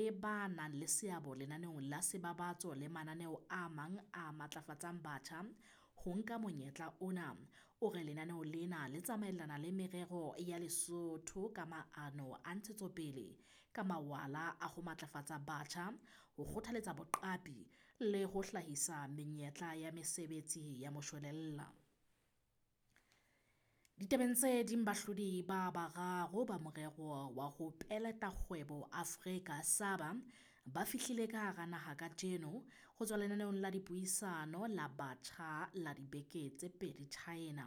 le ba nang le seabo lenaneong la Sebabatso le mananeo a mang a matlafatsang batjha ho nka monyetla ona. O re lenaneo lena le tsamaellana le merero ya Lesotho ka maano a ntshetsopele ka mawala a ho matlafatsa batjha, ho kgothaletsa boqapi le ho hlahisa menyetla ya mesebetsi ya moshwelella. Ditabeng tse ding bahlodi ba bararo ba morero wa ho peleta kgwebo Afrika SABA ba fihlile ka hara naha kajeno ho tswa lenaneong la dipuisano la batjha la dibeke tse pedi China.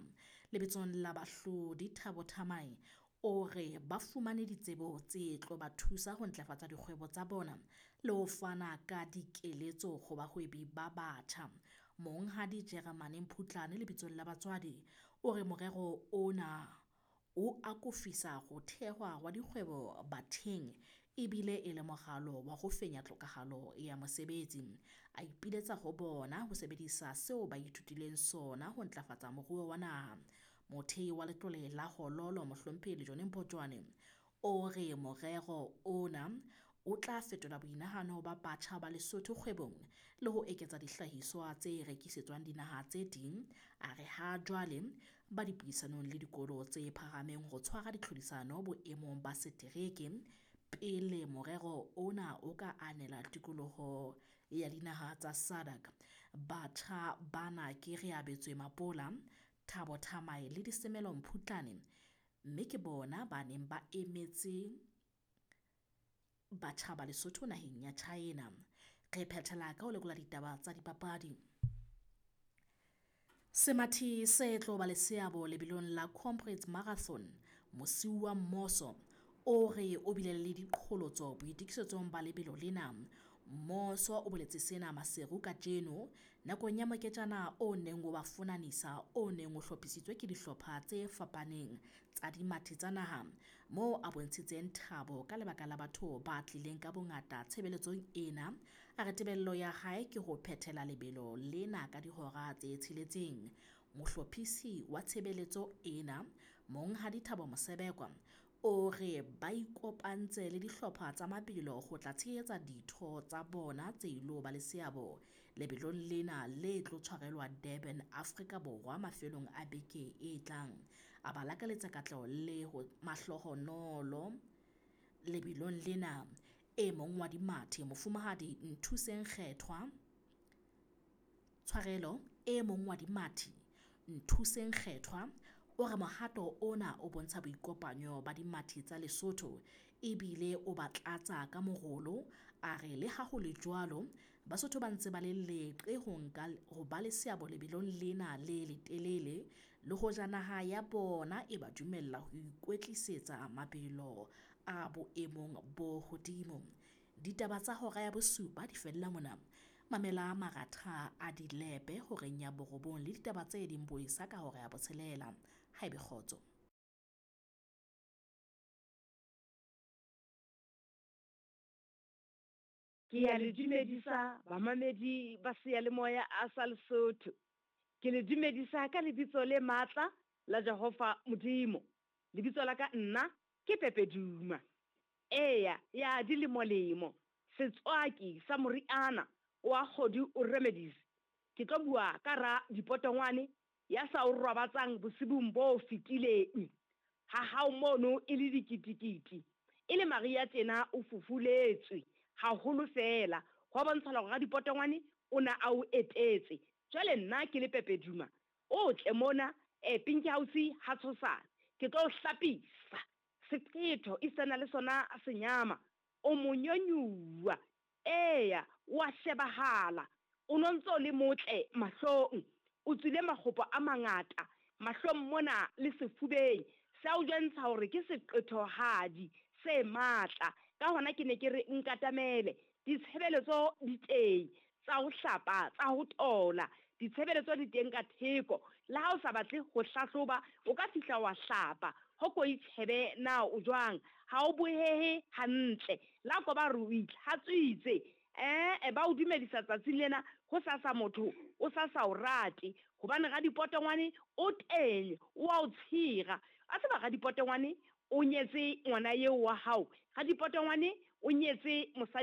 Lebitsong la bahlodi Thabo Thamae o re ba fumane ditsebo tse tlo ba thusa ho ntlafatsa dikgwebo tsa bona le ho fana ka dikeletso ho bahwebi ba batjha. Monghadi Jeremane Mphutlane lebitsong la batswadi o re morero ona o akofisa ho thehwa hwa dikgwebo batheng ebile e le moralo wa ho fenya tlhokahalo ya mosebetsi. A ipiletsa ho bona ho sebedisa seo ba ithutileng sona ho ntlafatsa moruo wa naha. Mothehi wa letlole la Hololo Mohlomphehi Lejone Mpotjoane o re morero ona o tla fetola boinahano ba batjha ba Lesotho kgwebong le ho eketsa dihlahiswa tse rekisetswang dinaha tse ding. A re ha jwale ba dipuisanong le dikolo tse phahameng ho tshwara ditlhodisano boemong ba setereke pele morero ona o ka anela tikoloho ya dinaha tsa SADC. Batjha bana ke Reabetswe Mapola, Thabo Thamae le Disemelo Mphutlane mme ke bona ba neng ba emetse batjha ba Lesotho naheng ya China. Re phethela ka ho lekola ditaba tsa dipapadi. Semathi se tlo ba le seabo lebelong la Comrades Marathon Mosiuwa Mmoso o re o bile le diqholotso boitokisetsong ba lebelo lena. Mmoso o boletse sena Maseru kajeno nakong ya moketjana o neng o ba fonanisa o neng o hlophisitswe ke dihlopha tse fapaneng tsa dimathi tsa naha moo a bontshitseng thabo ka lebaka la batho ba tlileng ka bongata tshebeletsong ena. A re tebello ya hae ke ho phethela lebelo lena ka dihora tse tsheletseng. Mohlophisi wa tshebeletso ena Monghadi Thabo Mosebekwa o re ba ikopantse le dihlopha tsa mabelo ho tla tshehetsa ditho tsa bona tse ilo ba le seabo lebelong lena le tlo tshwarelwa Durban, Afrika Borwa mafelong a beke e tlang. A ba lakaletsa katleho le ho mahlohonolo lebelong lena. E mong wa dimathi Mofumahadi Nthuseng Kgethwa tshwarelo e mong wa dimathi Nthuseng Kgethwa o re mohato ona o bontsha boikopanyo ba dimathi tsa Lesotho ebile o ba tlatsa ka morolo. A re le ha ho le jwalo Basotho ba ntse ba le leqe ho nka ho ba le seabo lebelong lena le letelele le hoja naha ya bona e ba dumella ho ikwetlisetsa mabelo a boemong bo hodimo. Ditaba tsa hora ya bosupa di fella mona. Mamela maratha a dilepe horeng ya borobong le ditaba tse ding boesa ka hora ya botshelela. Haebe kgotso. Ke ya le dumedisa bamamedi ba seyalemoya a sa Lesotho. Ke le dumedisa ka lebitso le matla la Jehova Modimo. Lebitso la ka nna ke Pepe Duma. Eya, ya dilemolemo, setswaki sa moriana wa kgodu o remedies. Ke tlo bua ka ra dipotongwane ya sa o robatsang bosibung bo fetileng. Ha hao mono e le dikitikiti. E le Maria tjena o fufuletswe haholo feela. Hwa bontshala hore radipotongwane o na a o etetse. Jwale nna ke le Pepe Duma, o tle mona Pinky House ha tshosane. Ke tlo o hlapisa. Seqetho e sena le sona senyama. O monyonyuwa. Eya, wa shebahala. O no ntso le motle mahlong. O tswile makgopo a mangata mahlong mona le sefubeng. Se a o jwentsha hore ke seqethohadi se matla. Ka hona ke ne ke re nkatamele. Ditshebeletso di teng tsa ho hlapa, tsa ho tola. Ditshebeletso di teng ka theko. Le ha o sa batle ho hlahloba, o ka fihla wa hlapa. Ho ko itjhebe na o jwang. Ha o bohehe hantle. La ko ba re o itlhatswitse. Ba o dumedisa tsatsing lena ho sasa motho o sa sa o rate. Hobane radipotongwane o teng, o a o tshira. A tseba radipotongwane o nyetse ngwana eo wa hao. Radipotongwane o nyetse mosadi.